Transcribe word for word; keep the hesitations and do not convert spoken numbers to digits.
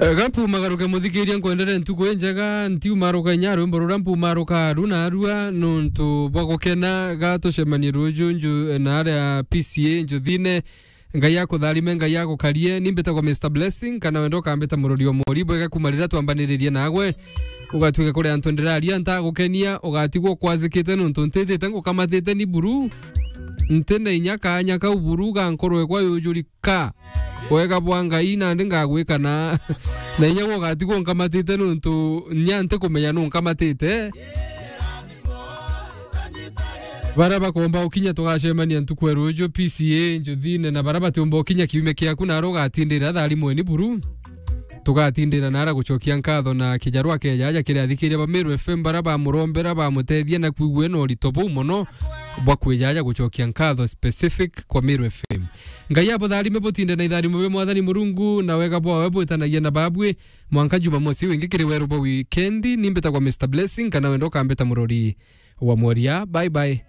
Ga mpumagaruke muthikiria, nkwendere ntuku injega. Ntiumaruka inya rwimbo ruria mpumaruka aru na arua nuntu bwa gukena. Ga tucemanie ruju nju na aria P C A njuthine. Ngai akutharime, Ngai agukarie. Ni mbitagwa Mister Blessing, kana wenda ukambita murori o mori bwega. Kuma riria twambaniririe nagwe, ugatuike kuri antu ndiraria ntagukenia, ugatigwa ukwazikite nuntu ntithite ngukamatite ni buru. Nti na inya kanya kau buru ga nkorwe kwa yujurika. Wega bwa Ngai nandi ngagwika na, na inya gwe ugatigwa unkamatite nuntu nya ntikumenya nu nkamatite. Baria bakomba ukinya tugacemania ntuku ya ruju P C A njuthine, na baria batiumba ukinya kiumia kiaku naro ugatindira tharimweni buru. Tugatindira nara gucokia nkatho na kijarwa keja aja kiri athikiria ba Meru F M baria bamurombera, bamutethia na kwigua na urito buu mono bwa kwija aja gucokia nkatho specific kwa Meru F M. Ngai abutharime butinde na itharimo bia Mwathani Murungu, na wega bwawe bwitanagia na babwi. Mwanka Jumamosi wingi kiri weru bwa wikendi, ni mbitagwa Mister Blessing, kana wenda ukambita murori wa mworia. Bye bye.